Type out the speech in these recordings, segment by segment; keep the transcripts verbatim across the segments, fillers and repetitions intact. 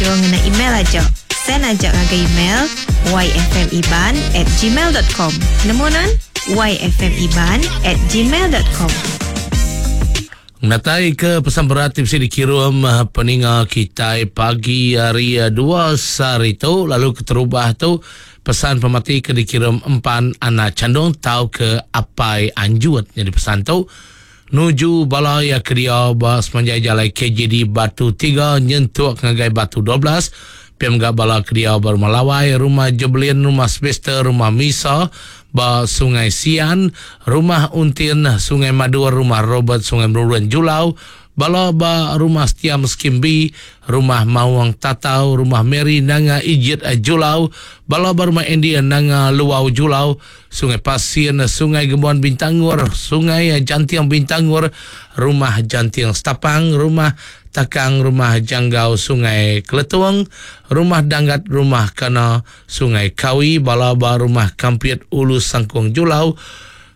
Nganjung ngena email aja. Send aja ngagai email yfmiban at gmail dot com. Nemu nan? yfmiban at gmail dot com. Natai ke pesan berat ti bisi dikirum peninga kitai pagi hari dua sehari tu, lalu keterubah tu pesan pemati ke dikirum empan anak candung tau ke apai anjut. Jadi pesan tu nuju bala ya ke dia ba semanjai jalai K J D Batu tiga nyentuk ngagai Batu dua belas. P M G bala ke dia ba Rumah Lawai, Rumah Jebelin, Rumah Semester, Rumah Misa ba Sungai Sian, Rumah Untin, Sungai Madur, Rumah Robert, Sungai Merurun Julau, bala ba Rumah Setiam Skim B, Rumah Mawang Tatau, Rumah Mary Nanga Ijit Julau, bala ba Rumah Andy Nanga Luau Julau, Sungai Pasien, Sungai Gembuan Bintangor, Sungai Jantiang Bintangor, Rumah Jantiang Setapang, Rumah Takang, Rumah Janggau Sungai Keletung, Rumah Danggat, Rumah Kana, Sungai Kawi, bala ba Rumah Kampit Ulu Sangkung Julau,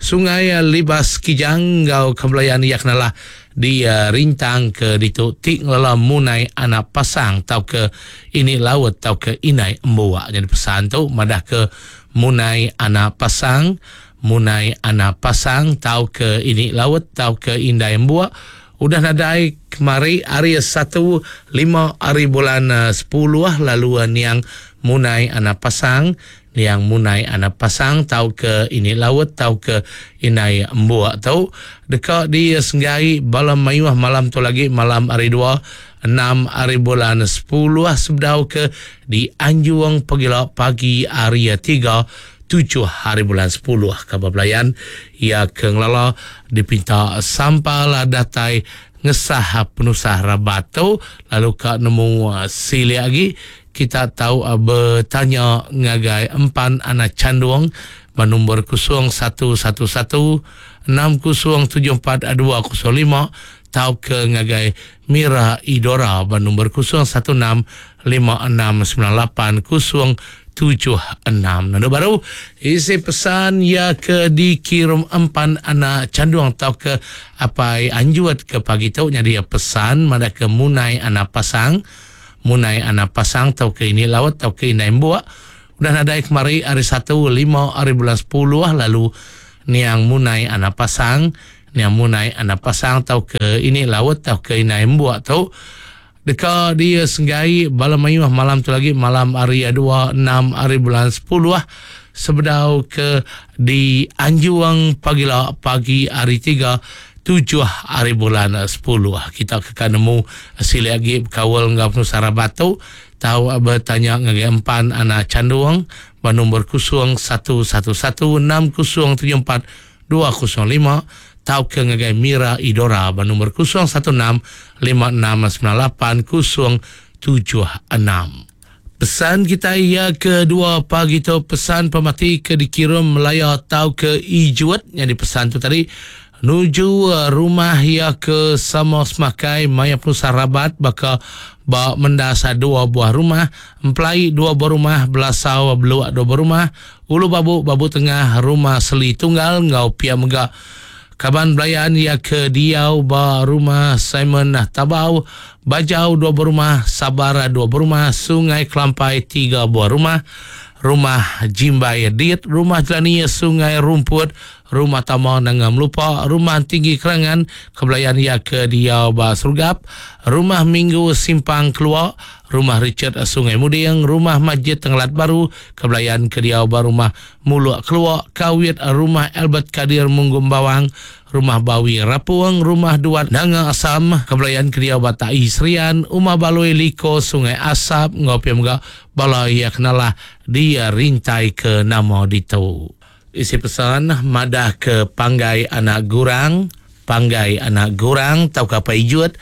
Sungai Libas Kijang, Gau Kembelayan Yaknalah di, uh, Rintang ke ditu tik ngelela munai anak pasang tau ke ini laut tau ke inai embuak. Jadi pesan tu madah ke munai anak pasang, munai anak pasang tau ke ini laut tau ke indai embuak. Udah nadai kemari hari satu lima hari bulan, uh, sepuluh lalu, uh, niang munai anak pasang, niang munai anak pasang tau ke ini laut tau ke inai embuak tau dekat di Senggai bala mayuh malam tu lagi malam hari dua enam hari bulan sepuluh sebedau ke di Anjuang Pegila pagi hari tiga tujuh hari bulan sepuluh. Kabar pelayan ia ke ngelala dipinta sampal datai ngesah penusah rabat tu lalu ka nemu, uh, silik lagi kita tahu, uh, bertanya ngagai empan anak candung bernombor kosong satu satu satu enam kosong tujuh empat dua kosong lima tau ke ngagai Mira Idora bernombor kosong satu enam lima enam sembilan lapan kosong tujuh enam. Nanda baru isi pesan ya ke dikirim empan anak candung tau ke apai anjuat ke pagi tu jadi pesan mada ke munai anak pasang, munai anak pasang tau ke ini laut tau ke inai buak. Udah nadai kemari hari satu lima hari bulan sepuluh lalu niang munai anak pasang, niang munai anak pasang tau ke ini laut tau ke inai buak tu deka dia senggai bala mayuh malam tu lagi malam hari dua enam hari bulan sepuluh sebedau ke di Anjuang pagila pagi hari tiga tujuh hari bulan sepuluh. Kita ke nemu silik lagi kawal ngau penusara batu tahu bertanya ngagai empan anak candung bernombor kosong satu satu satu enam kosong tujuh empat dua kosong lima tau ke ngagai Mira Idora bernombor kosong satu enam lima enam sembilan lapan kosong tujuh enam. Pesan kita ia kedua pagi tu pesan pemati ke dikirim Melaya tau ke Ijuat yang dipesan tu tadi nuju, uh, rumah ia ke sama semakai maya pusat rabat baka ba mendasa dua buah rumah, empelai dua buah rumah, belasau beluak dua buah rumah, ulu babu babu tengah rumah seli tunggal ngau pia mega kaban belayan ia ke diau ba rumah Simon Tabau, Bajau dua buah rumah, Sabara dua buah rumah, Sungai Kelampai tiga buah rumah, Rumah Jimbai Dit, Rumah Jelani Sungai Rumput, Rumah Tama Nanga Melupa, Rumah Tinggi Kerangan, Kebelayan ia ke diau ba Serugap, Rumah Minggu Simpang Keluar, Rumah Richard Sungai Muding, Rumah Masjid Tenggelat Baru, Kebelayan ke diau ba Rumah Muluk Keluar, Kawit Rumah Albert Kadir Munggum Bawang, Rumah Bawi Rapuang, Rumah Duat Nanga Asam, Kebelayan ke diau ba Tai Serian, Umah Baloi Liko Sungai Asap, Ngopi Mega, Bala ia kenalah dia rintai ke nama ditu. Isi pesan madah ke panggai anak gurang, panggai anak gurang tau ke apa ijut.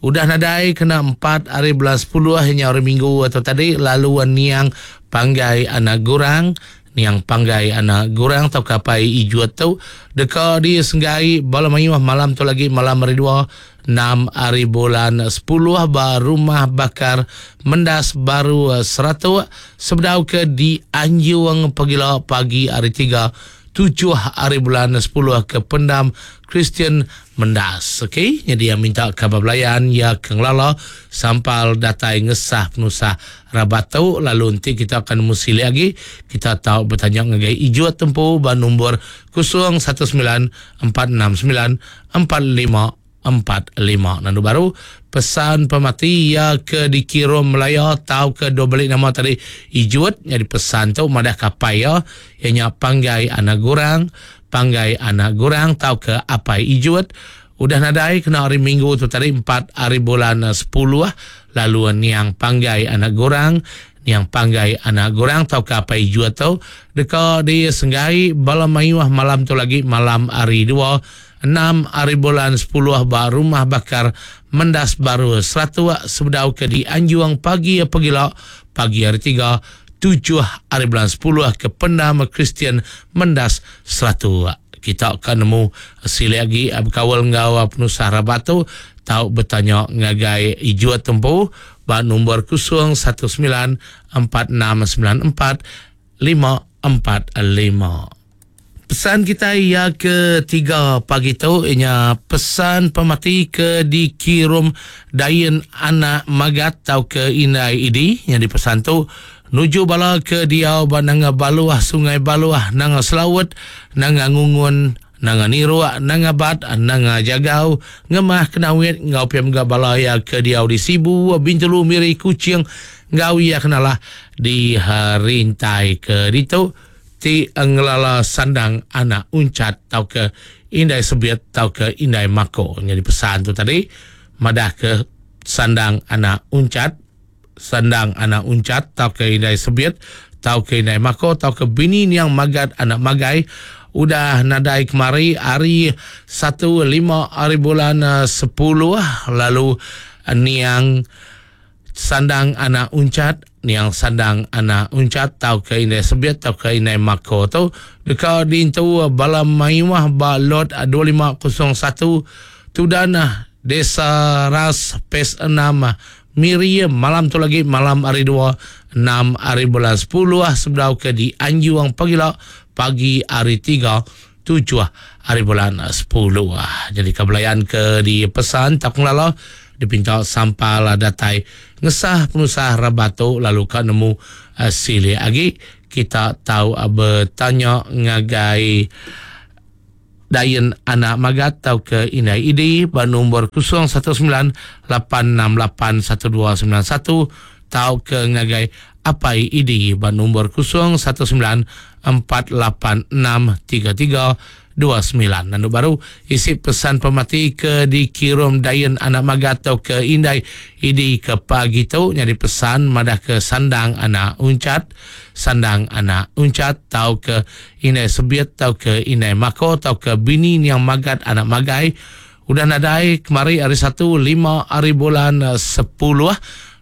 Udah nadai kena empat hari bulan sepuluh hanya hari Minggu atau tadi lalu niang panggai anak gurang, niang panggai anak gurang tau ke apa ijut tu deka di senggai bala mayuh malam tu lagi malam hari dua enam hari bulan sepuluh ba rumah bakar Mendas Baru seratus sebedau ke di Anjuang pagila pagi hari tiga tujuh hari bulan sepuluh ke Pendam Kristian Mendas. Okey, jadi yang minta kabar belayan ya ke ngelala sampal datai ngesah penusah rabat tu, lalu nanti kita akan mesti lagi kita tahu bertanya ngagai Ijut tempu ban nombor kosong satu sembilan empat enam sembilan empat lima empat lima. Nandu baru pesan pemati ya ke dikirim Melaya tau ke dua balik nama tadi Ijut, jadi pesan tu madah kapai ya ianya Panggai Anak Gurang, Panggai Anak Gurang tau ke Apai Ijut udah nadai kena hari Minggu tu tadi empat hari bulan sepuluh, lalu niang Panggai Anak Gurang, niang Panggai Anak Gurang tau ke Apai Ijut tu deka di Senggai bala mayuh malam tu lagi malam hari dua enam hari bulan sepuluh ba rumah bakar Mendas Baru Seratus sebedau ke di Anjuang pagi pegila pagi hari tiga tujuh hari bulan sepuluh ke Pendam Kristian Mendas Seratus. Kita akan nemu sili lagi berkawal ngau penusah rabat tu tau bertanya ngagai Ijut tempu ba nombor kosong satu sembilan empat enam sembilan empat lima empat lima. Pesan kita ya ketiga pagi tu ianya pesan pemati ke dikirim Dayen Anak Magat tau ke Indai Idi yang dipesan tu nuju bala ke diau ba nanga Baluah Sungai Baluah nanga Selawut nanga Ngungun nanga Niruak nanga Bat nanga Jagau ngemah Kenawit ngau piam ga bala ya ke diau di Sibu Bintulu Miri Kuching ngau ya kenalah di rintai ke ditu ti ngelala Sandang Anak Uncat tau ke Indai Sebiat tau ke Indai Mako. Jadi pesan tu tadi madah ke Sandang Anak Uncat, Sandang Anak Uncat tau ke Indai Sebiat tau ke Indai Mako tau ke bini niang Magat Anak Magai udah nadai kemari hari satu lima hari bulan sepuluh, lalu niang Sandang Anak Uncat, niang Sandang Anak Uncat tau ke Indai Sebiat tau ke Indai Mako tu deka diintu bala mayuh ba lot dua lima kosong satu Tudana Desa Ras P E S enam Miri malam tu lagi malam hari dua enam hari bulan sepuluh sebedau ke di Anjuang pagila pagi hari tiga tujuh hari bulan sepuluh. Jadi kebelayan ke di pesan tak ngelala dipinta sampal datai ngesah penusah rabatu lalu ka nemu uh, sili agi kita tahu uh, bertanya ngagai Dayen Anak Magat tau ke Indai Idi ba nombor kosong satu sembilan lapan enam lapan satu dua sembilan satu tau ke ngagai Apai Idi ba nombor kosong satu sembilan empat lapan enam tiga tiga dua sembilan. Nandu baru isi pesan pemati ke dikirim Dayen Anak Magat atau ke Indai Idi ke pagi tu nyari pesan madah ke Sandang Anak Uncat, Sandang Anak Uncat tau ke Indai Sebiat tau ke Indai Mako tau ke bini niang Magat Anak Magai udah nadai kemari hari satu lima hari bulan sepuluh,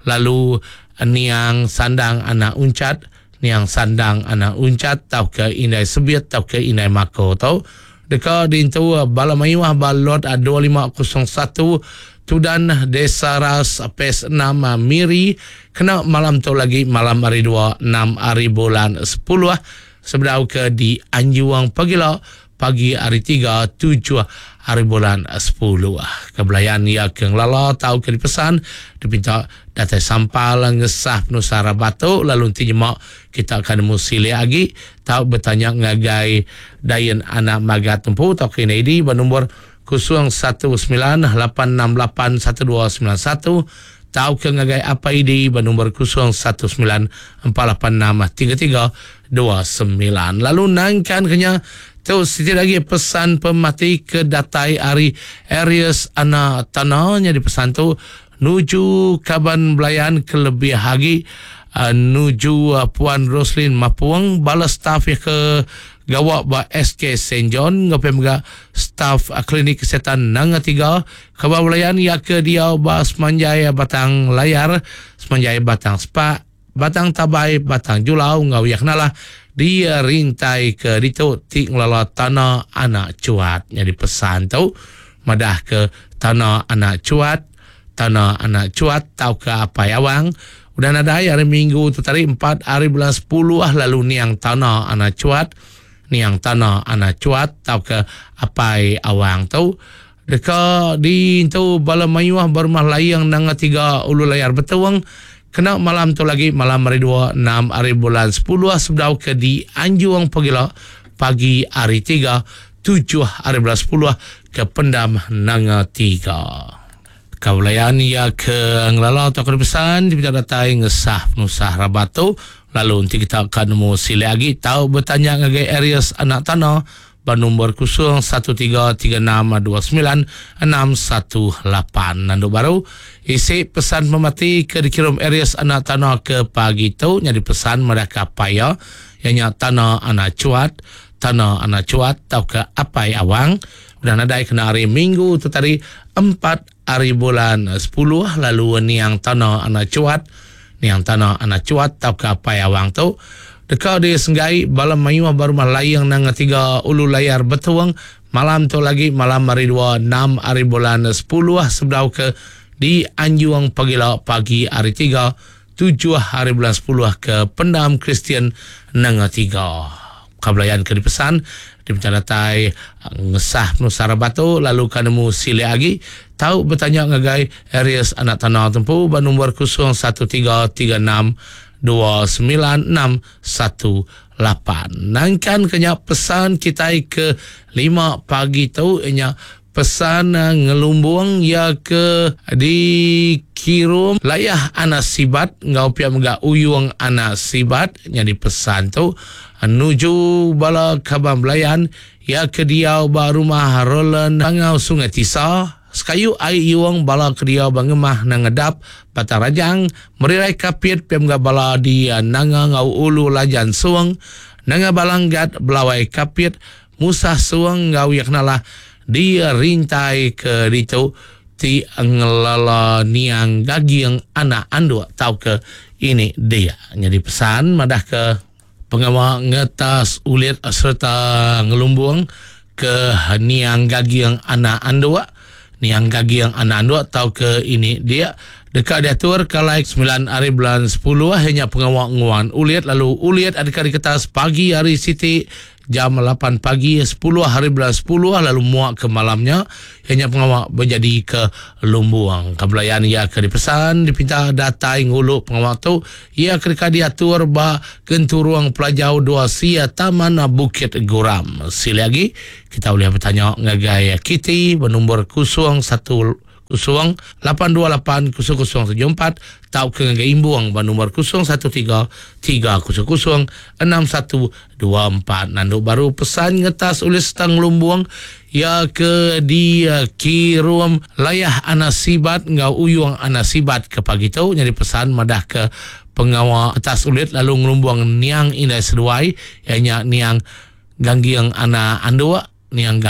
lalu niang Sandang Anak Uncat, niang Sandang Anak Uncat tau ke Indai Sebiat tau ke Indai Mako tau deka diintu bala mayuh balot dua lima kosong satu Tudan Desa Ras P E S enam Miri kena malam tu lagi malam hari dua enam hari bulan sepuluh sebedau ke di Anjuang pagila pagi hari tiga tujuh hari bulan sepuluh. Kebelayan ia ke ngelala tau ke dipesan dipinta datai sampal ngesah penusah batu lalu nanti jemak kita akan nemu sili lagi tau bertanya ngagai Dayen Anak Magat tempu tau ke I D bernombor kosong satu sembilan lapan enam lapan satu dua sembilan satu tau ke ngagai apa I D bernombor kosong satu sembilan empat lapan enam tiga tiga dua sembilan. Lalu nangkan kenya tu sikit lagi pesan pemati ke datai hari Aries Anak Tanahnya di pesan tu nuju kaban belayan kelebih lagi uh, nuju uh, Puan Roslin Mapuang bala staf ya ke gawak ba S K Saint John ngapem ga staf uh, klinik kesihatan Nanga tiga kaban belayan ya ke dia ba Semanjai Batang Layar Semanjai Batang Spa Batang Tabai Batang Julau ngau yak nalah dia rintai ke ditu ti ngelala tanah anak cuat. Jadi pesan tu madah ke tanah anak cuat, tanah anak cuat tau ke apai awang. Udah nadai hari Minggu tu tadi empat hari bulan sepuluh ah lalu niang tanah anak cuat, Niang Tana Anak Cuat tau ke Apai Awang tu deka di tu bala mayuh berumah layang nanga tiga ulu layar betuang kena malam tu lagi malam hari dua enam hari bulan sepuluh sebedau ke di Anjung Pagila pagi hari tiga tujuh hari bulan sepuluh ke Pendam Nanga tiga. Kaulayan ia ke ngelala atau ke pesan kita datai ngesah penusah rabat tu lalu nanti kita akan nemu sila lagi tahu bertanya ngagai Aries Anak Tanah bernombor kosong satu tiga tiga enam dua sembilan enam satu lapan. Nanduk baru isi pesan pemati ke dikirim Aries Anak Tanah ke pagi tu jadi pesan mereka paya ianya Tanah Anak Cuat, Tanah Anak Cuat atau ke Apai Awang dan nadai kena hari Minggu tu tadi empat hari bulan sepuluh lalu niang Tanah Anak Cuat, niang Tanah Anak Cuat atau ke Apai Awang tu dekat di Senggai bala mayuh berumah layang nang tiga ulu layar betuang malam tu lagi malam hari dua enam hari bulan sepuluh sebedau ke di Anjuang Pagila pagi hari tiga tujuh hari bulan sepuluh ke Pendam Kristian Nanga tiga. Kabelayan ke dipesan di datai ngesah penusah batu lalu kanemu sila lagi tahu bertanya ngagai Aries Anak Tanah tempu bernombor kosong satu tiga tiga enam dua sembilan enam satu lapan. Nangkan kenya pesan kita ke lima pagi tu ianya pesan ngelumbung ya ke dikirum layah anak sibat ngau pia mega uyung anak sibat jadi pesan tu nuju bala kabang belayan ya ke diau ba rumah Roland Bangau Sungai Tisa sekayu ai yuang bala ke diau ba ngemah nangedap Batang Rajang merirai kapit pia mega bala di nanga ngau ulu Lajan Suang nanga Balanggat Belawai Kapit Musah Suang ngau ya kenalah di rintai ke ditu ti ngelala niang gagiang anak anduk tau ke ini dia. Jadi pesan madah ke pengawal ngetas ulit serta ngelumbung ke niang gagiang anak anduk, niang gagiang anak anduk tau ke ini dia dekat diatur kalai sembilan hari bulan sepuluh hanya pengawal nguan ulit lalu ulit adakah diketas pagi hari Siti jam lapan pagi sepuluh hari bulan sepuluh lalu muak ke malamnya hanya pengawal berjadi ke Lumbuang. Kebelayan ia ke dipesan dipinta datai nguluk pengawal tu ia ketika diatur ba Genturuang Pelajau dua Sia Taman Bukit Guram. Sila lagi kita boleh bertanya ngagai Kitty bernombor kosong satu kosong lapan dua lapan kosong kosong tujuh empat tau ke ngagai Imbuang bernombor kosong satu tiga tiga kosong kosong enam satu dua empat. Nanduk baru pesan ngetas ulis tang Lumbuang ya ke di kirum layah anak sibat ngau uyung anak sibat ke pagi tu jadi pesan madah ke pengawal atas ulit lalu ngelumbuang niang indai seduai ianya niang ganggiang anak anduk niang gang